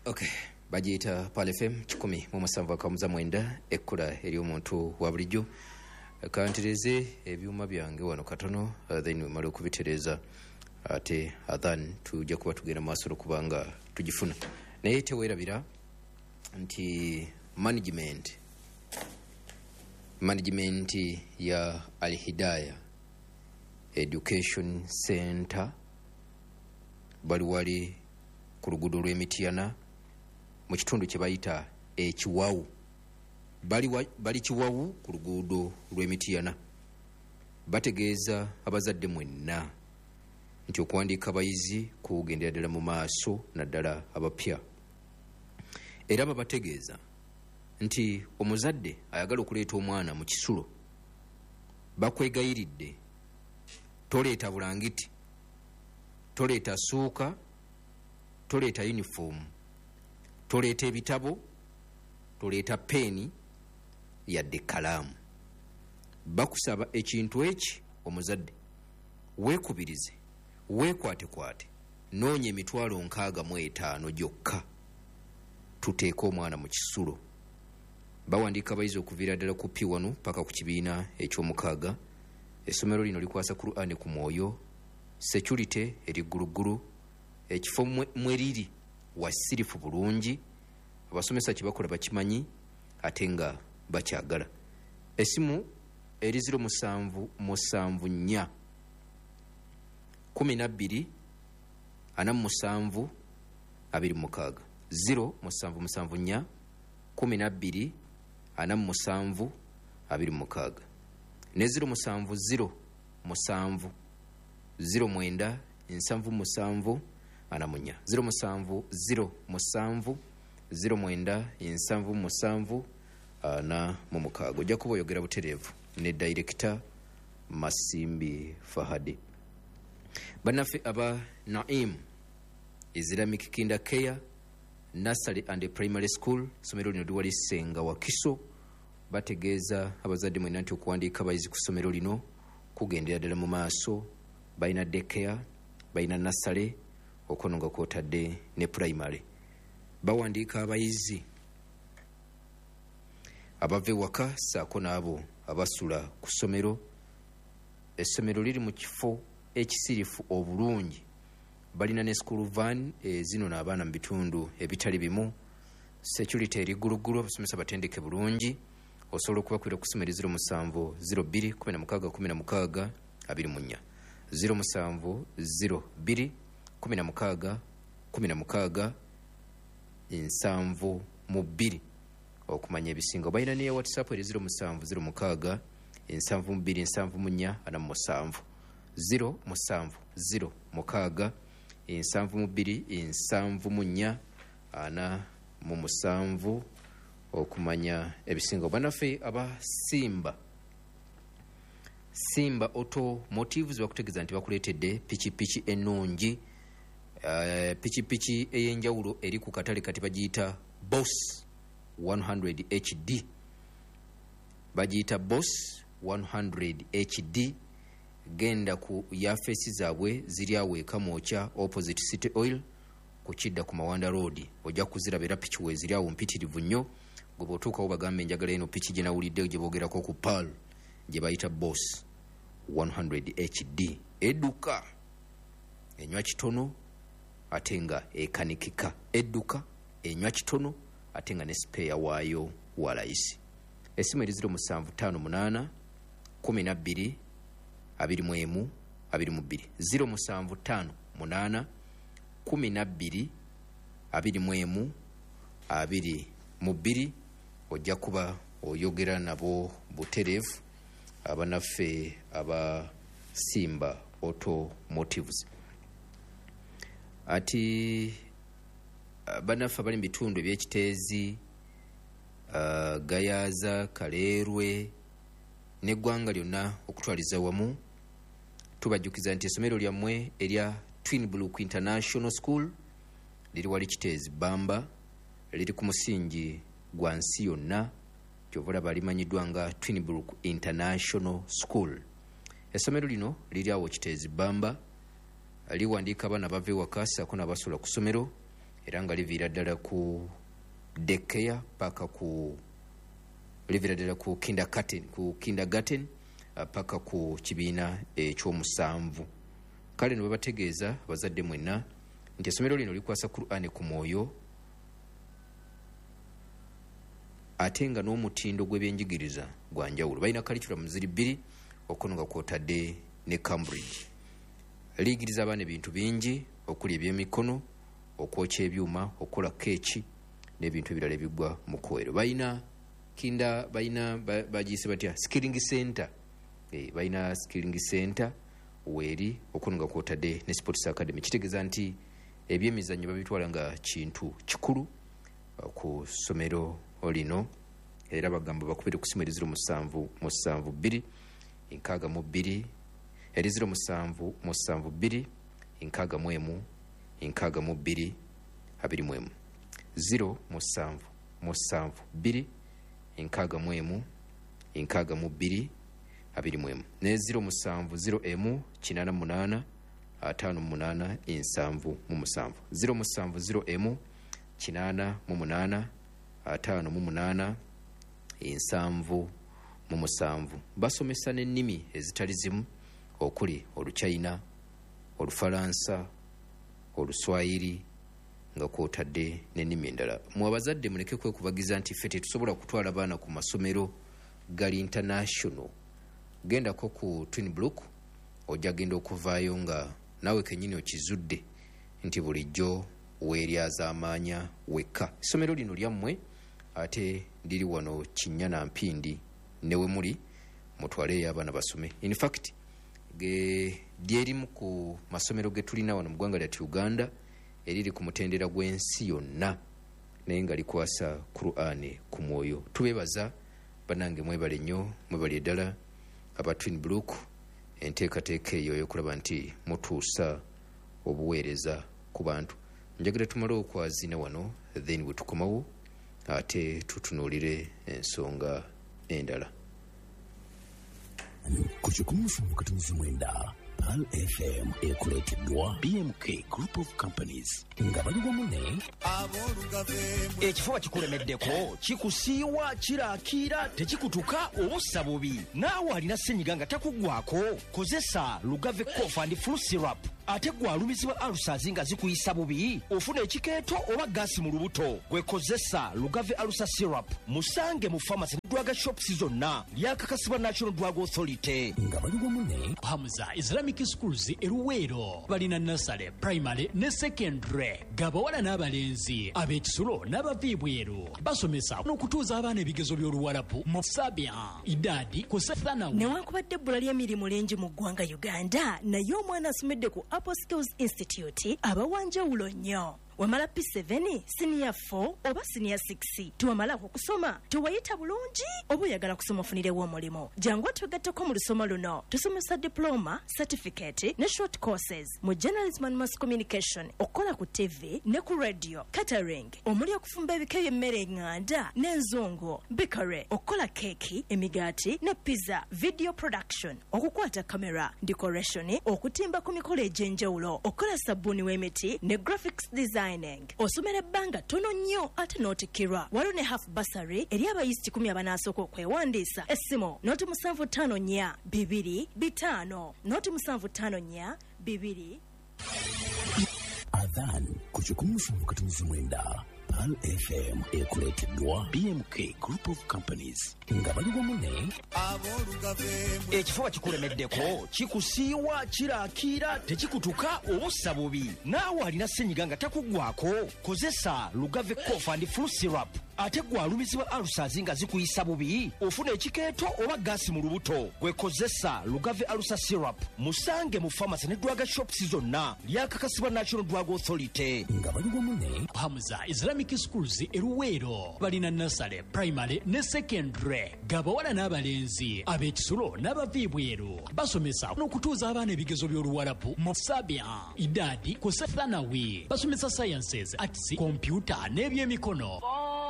Okay, bagiyita Pearl FM 107.9, ekkula ery'omuntu wa bulijjo. Kantereze ebyuma byange wano katono, then wemala okubitereeza ate adhan tujja kuba tugenda maaso olwokubanga tugifuna. Naye teweerabira nti management ya Alhidaya Education Center bali wali ku luguudo lw'Emityana mu kitundu kye bayita Ekiwawu. Bali Kiwawu ku luguudo lw'Emityana. Bategeeza abazadde mwenna nti okuwandiika abayizi kugendera ddala mu maaso, naddala abapya. Era babategeeza nti omuzadde ayagala okuleeta omwana mu kisulo bakwegayiridde toleeta bulangiti, toleeta suuka, toleeta yunifoomu, toleeta ebitabo, toleeta peeni yadde ekkalaamu. Bakusaba ekintu eki omuzadde weekubirize, weekwatekwate, noonya emitwalo 65 gyokka tuteeke omwana mu kisulo. Bawandiika abayizi okuviira ddala ku P1 paka ku kibiina eky'omukaaga. Essomero lino likwasa Kur'ani ku mwoyo, security eri gguluggulu, ekifo mwe liri wasirifu bulungi, abasomesa kye bakola bakimanyi ate nga bakyagala. Essimu eri 0774 12 47 26, 0774 12 47 26 ne 0707 09 77 44, 0707 09 77 46. Ojja kuba oyogera butereevu ne Dayirekita Masimbi Fahadi. Bannaffe aba Naim Islamic Kinder Care Nursery and Primary School, essomero lino liwali Ssenga Wakiso, bategeeza abazadde mwenna nti okuwandiika abayizi ku ssomero lino kugendera ddala mu maaso. Balina daycare, balina nursery, okwo nga kwotadde ne primary. Bawandiika abayizi abava ewaka ssaako n'abo abasula ku ssomero. Essomero liri mu kifo ekisirifu obulungi. Balina ne school van ezinona abaana mu bitundu ebitali bimu. Security eri gguluggulu, abasomesa batendeke bulungi. Osobola okubakubira ku ssimu eri 07 02 16 16 24, 07 02 16 16 72 okumanya ebisinga. Balina ne WhatsApp eri 07 06 72 74 47, 07 06 72 74 47 okumanya ebisinga. Bannaffe aba Simba Automotives bakutegeeza nti bakuleetedde pikipiki ennungi, pikipiki ey'enjawulo eri ku katale kati bagiyita Boss 100 HD, bagiyita Boss 100 HD. Genda ku yafeesi zaabwe ziri awo e Kamwokya opposite City Oil ku kidda ku Mawanda Road, ojja kuziraba era piki weeziri awo mpitirivu nnyo. Gwe bw'otuukawo bagambe njagala eno piki gye nawulidde gye boogerako ku Pearl gye bayita Boss 100 HD. Edduka, enywa kitono ate nga ekanikika. Edduka, enywa kitono ate nga ne sipeeya waayo wa layisi. Essimu eri 0758 12 21 22, 0758 12 21 22. Ojja kuba oyogera nabo butereevu abanaffe aba Simba Automotives. Ati banaffe abali mu bitundu eby'Ekiteezi, Gayaza, Kaleerwe n'eggwanga lyonna okutwaliza wamu, tubajjukiza nti essomero lyammwe erya Twin Brook International School liri wali Kiteezi Bbamba, liri ku musingi gwa nsi yonna, kyova olaba limanyiddwa nga Twin Brook International School. Essomero lino liri awo Kiteezi Bbamba, liwandiika abaana abava ewaka ssaako n'abasula ku ssomero. Era nga liviira ddala ku daycare paka ku liviira ddala ku kindergarten paka ku kibiina ekyomusanvu. Kale ne babategeeza abazadde mwenna nti essomero lino likwasa Qur'an ku mwoyo, ate nga n'omutindo gw'ebyenjigiriza gwa njawulo. Balina curriculum ziri 2 okuno nga kwotadde ne Cambridge. Liyigiriza abaana ebintu bingi okuli ebyemikono, okwokya ebyuma, okukola keeki n'ebintu ebirala ebigwa mu kowero. Balina bagiyise batya, skilling center. Balina skilling center weeri okuno nga kwotadde ne sports academy. Kitegeeza nti ebyemizannyo babitwala nga kintu kikulu ku ssomero lino. Era bagamba bakubire ku ssimu eri 07 72 62 eri 07 72 61 62 21 0 7 7 2 61 62 21 ne 0 7 0 m 88 58 77 0 7 0 m 88 58 77. Basomesa n'ennimi ezitali zimu okuli Oluchina, Olufalansa, Oluswayiri nga kwotadde n'ennimi endala. Mwe abazadde muleke kwekubagiza nti ffe tetusobola kutwala baana ku masomero gali international. Gendako ku Twin Brook ojja genda okuvaayo nga naawe kennyini okizudde nti bulijjo weeryazaamaanya wekka. Essomero lino lyammwe ate liri wano Kinnya na Mpindi, ne we muli mutwaleeyo abaana basome. In fact lyerimu ku masomero ge tulina wano mu ggwanga lyattu Uganda eriri ku mutendera gw'ensi yonna, naye nga likwasa Qur'an ku mwoyo. Tubeebaza bannange, mwebale nnyo, mwebale ddala aba Twin Brook enteekateeka eyo ey'okulaba nti mutuusa obuweereza ku bantu. Njagala tumale okwazina wano, then bwe tukomawo ate tutunuulire ensonga endala. Ku 107.9 Pearl FM ekuleeteddwa BMK Group of Companies nga bali wamu ne Ekifuba kikulemeddeko, kikusiiwa, kirakiira, tekikutuka obussa bubi. Naawe alina ssenyiga nga takuggwako, kozesa Lugave Cough and Flu Syrup. Ate gwe alumizibwa ulcers nga zikuyisa bubi, ofuna ekikeeto oba gaasi mu lubuto, gwe kozesa Lugave Ulcer Syrup. Musange mu pharmacy ne drug shops zonna. Lyakakasibwa National Drug Authority. Nga bali wamu ne Hamza Islamic Schools e Luweero. Balina nursery, primary ne secondary, gabawala n'abalenzi, ab'ekisulo n'abava ebweru. Basomesa n'okutuuza abaana ebigezo by'Oluwarabu mu Sabia, Idadi, Kusethanawi. Newankubadde ebbula ly'emirimu lingi mu ggwanga Uganda, naye omwana asomedde ku Apple Skills Institute aba wa njawulo nnyo. Wamala P7, siniya 4 oba siniya 6, tewamalako kusoma, tewayita bulungi oba oyagala kusoma ofunirewo omulimu, jangu otwegatteko mu lusoma luno. Tusomesa diploma, certificate ne short courses mu journalism and mass communication, okukola ku TV ne ku radio, catering omuli okufumba ebika by'emmere eŋŋanda n'enzungu, bakery, okukola keeki, emigaati ne pizza, video production, okukwata kamera, decoration, okutimba ku mikolo egy'enjawulo, okukola sabbuuni w'emiti ne graphics designing. Osomera ebbanga ttono nnyo ate n'otikkirwa. Waliwo ne half bursary eri abayizi 10 abanaasooka okwewandiisa. Essimu noti 754 2 5 noti 754 2. Adhan ku 107.9 Pearl FM ekuleeteddwa BMK Group of Companies nga bali wamu ne Ekifuba kikulemeddeko, kikusiiwa, kirakiira, tekikutuka obussa bubi. Naawe alina ssenyiga nga takuggwako, kozesa Lugave Cough and Flu Syrup. Ate gwe alumizibwa ulcers nga zikuyisa bubi, ofuna ekikeeto oba gaasi mu lubuto, gwe kozesa Lugave Ulcer Syrup. Musange mu pharmacy ne drug shops zonna. Lyakakasibwa National Drug Authority. Nga bali wamu ne Hamza Islamic Schools e Luweero. Balina nursery, primary ne secondary, gabawala n'abalenzi, ab'ekisulo n'abava ebweru. Basomesa n'okutuuza abaana ebigezo by'Oluwarabu mu Sabia, Idadi, Kusethanawi. Basomesa sciences, arts, computer n'ebyemikono.